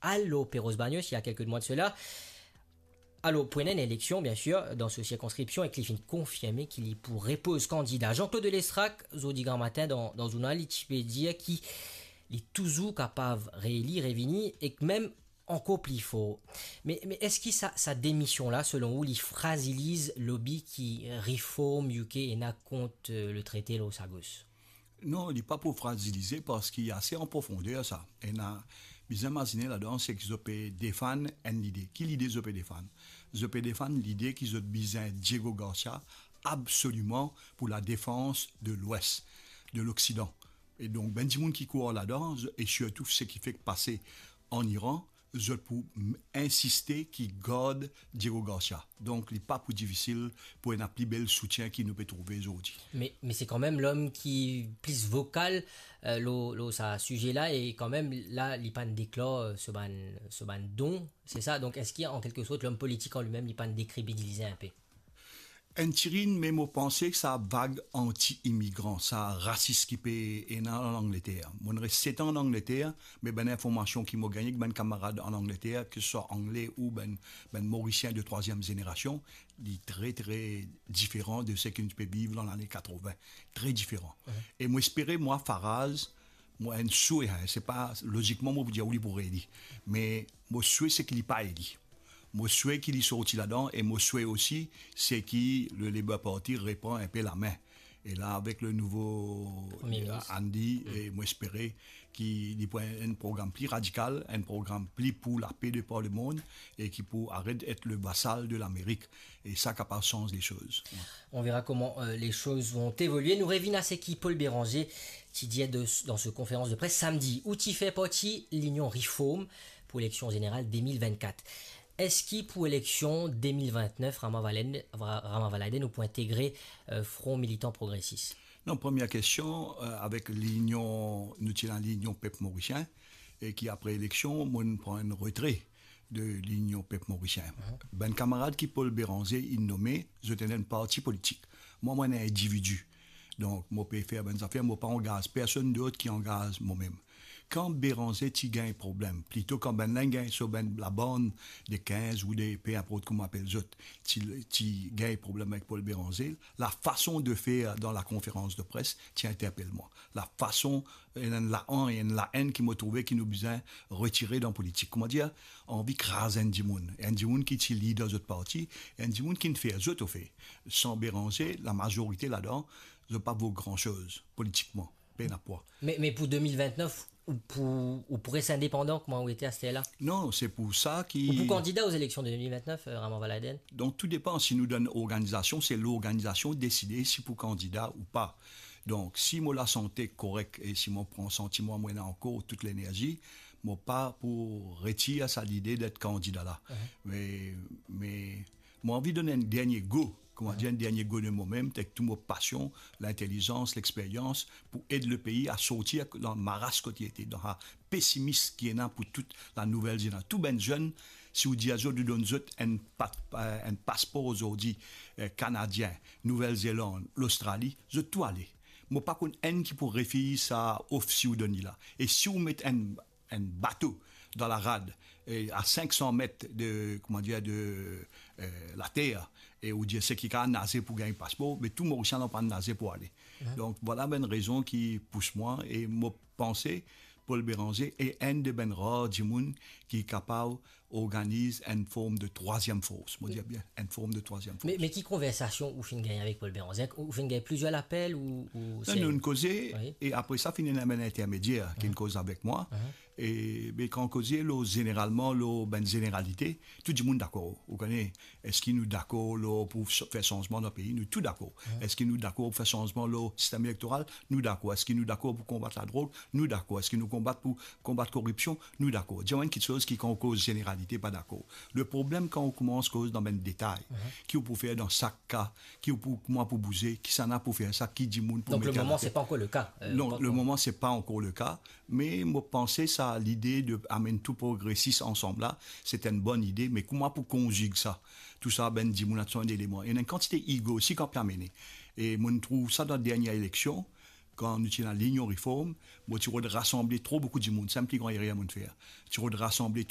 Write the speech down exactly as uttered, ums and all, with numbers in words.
al lor Perros Baños, il y a quelques mois de cela. Alor, pou ena enn eleksion, bien sir, dan so sirkonskripsion, ek li finn konfirme ki li pou repoz kandida. Jean-Claude Lestrac, zordi gramatin dan, dan zournal, li ti pe dir ki li touzour kapav reeli, revini, ek mem ankor pli for. Me, me eski sa, sa demision la, selon ou, li fraziliz lobi ki Reform U K ena kont, euh, le trete lor sa gos? Non, li pa pou frazilize parski ase an profonder sa. Ena, bizin imazine ladan, seki zot pe defann enn lide. Ki lide zot pe defann? Zot pe defann lide ki zot bizin Diego Garcia absoliman pou ladefans de Lwes, de Loksidan. E donk, bann dimoun ki krwar ladan, e sirtou seki fek pase an Iran, zot pou m-, insiste ki gard Diego Garcia. Donk, li pa pou difisil pou ena pli bel soutien ki nou pe trouve zordi. Me, me se kanmem lom ki pli vokal, euh, lor, lor sa size la, e kanmem la, li pa'nn deklar, euh, so bann, so bann don, se sa? Donk, eski, an kelke sort, lom politik an limem, li pa'nn dekrebilize inpe? Enn tirin, me mo panse ki sa vag anti-imigran, sa rasis ki pe ena an Angleter. Mo'nn res set an an Angleter, me bann informasion ki mo gagne ek bann kamarad an Angleter, ki swa angle ou bann, bann Morisien de trwaziem zenerasion, li tre, tre diferan de seki nou ti pe viv dan lane katrovin. Tre diferan. Mhm. E mo espere, mwa, Farage, mo enn swe, hein, se pa, lozikman, mo pou dir ou li pou reeli. Me mo swe seki li pa eli. Mo swe ki li sorti ladan e mo swe osi, seki le Labour Party repran inpe lame. E la, avek le nouvo Premier Ministre. Andy, e mo espere ki li pou enn, enn program pli radikal, enn program pli pou lape de par lemond e ki pou aret et le vasal de Lamerik. E sa kapav sanz lesoz. On verra comment, euh, les choses vont évoluer. Nou revinn a seki Paul Bérenger ti dir de, dan so konferans de pres samdi, ou ti fer parti Linion Reform pou eleksion zeneral de mil vennkat. Eski pou eleksion de mil vennef, Ramavalladen, Ra-, Ramavalladen, ou pou integre, euh, Front Militant Progresis? Non, premie kestion, euh, avek Linion, nou ti ena Linion Pep Morisien, e ki apre eleksion, mo'nn pran enn retre de Linion Pep Morisien. Mhm. Bann kamarad ki Paul Bérenger inn nome, zot ena enn parti politik. Mwa, mo enn individi. Donk, mo pe fer bann zafer, mo pa angaz personn dot ki angaz momem. Kan Bérenger ti gagn problem, plito kan bann la gagn so bann labann de kinz ou de, pe inport kouma apel zot, ti, ti gagn problem avek Paul Bérenger, la fason de fer dan la konferans de pres ti interpel mwa. La fason, enn la-, enn laenn ki mo trouve ki nou bizin retire dan politik. Kouma dir, anvi kraz enn dimoun. Enn dimoun ki ti lider zot parti, enn dimoun ki'nn fer zot, ofe. San Bérenger, lamazorite ladan, zot pa vo gran soz politikman. Pena pwa. Me, me pou de mil vennef, ou pou, ou pou res indepandan, kouma ou ete aster la? Non, se pou sa ki... Ou pou kandida o eleksion de de mil vennef, euh, Ramavalladen? Donk, tou depan si nou donn organizasion, se lorganizasion deside si pou kandida ou pa. Donk, si mo lasante korek e si mo pran santi mwa mo ena ankor tou lenerzi, mo pa pou retir sa lide det kandida la. Mhm. Me, me mo anvi donn enn dernie go, kouma dir, enn dernie go de momem, ek tou mo pasion, lintelizans, lexperyans, pou ed lepei a sorti dan maras kot li ete, dan sa pesimis ki ena pou tou lanouvel zeneras-, tou bann zenn, si ou dir zot, ou donn zot enn pa-, enn paspor ozordi, eh, Kanadien, Nouvel Zeland, Lostrali, zot tou ale. Mo pa konn enn ki pou refiz sa of si ou donn li la. E si ou met enn, enn bato dan larad, e a sink san met de, kouma dir, de, eh, later, e ou dir seki kapav naze pou gagn paspor, me tou Morisien la pa naze pou ale. Mhm. Donk, vwala bann rezon ki pous mwa, e mo panse Paul Bérenger e enn de bann rar dimoun ki kapav organiz enn form de trwaziem fors. Mo dir bien, enn form de trwaziem fors. Me, me ki konversasion ou finn gagn avek Paul Bérenger? Ou finn gagn plizier lapel ou, ou... Non, se nou'nn koze, wi, e apre sa, finn ena bann intermedier ki'nn koz avek mwa. Mhm. E, be, kan koze lor, zeneralman, lor bann zeneralite, tou dimoun dakor. Ou kone, eski nou dakor lor pou s-, fer sanzman dan pei? Nou tou dakor. Mhm. Eski nou dakor pou fer sanzman lor sistem elektoral? Nou dakor. Eski nou dakor pou konbat ladrog? Nou dakor. Eski nou konbat pou konbat koripsion? Nou dakor. Dir enn kiksoz ki kan ou koz zeneralite, pa dakor. Le problem kan ou koumans koz dan bann detay, mhm, ki ou pou fer dan sak ka, ki ou pou, kouma pou bouze, kisannla pou fer sa, ki dimoun pou... Donk, le moman, se pa ankor le ka, euh... Non, le moman, se pa ankor le ka, me mo panse sa lide de amenn tou progresis ansam la, se enn bonn ide, me kouma pou konzig sa? Tou sa, bann dimoun, ena enn eleman. Ena enn kantite ego osi ki pe amenn. E mo'nn trouv sa dan dernie eleksion, kan nou ti ena Linion Reform, mo ti rod rasanble tro boukou dimoun, sa enn pli gran erer mo'nn fer. Ti rod rasanble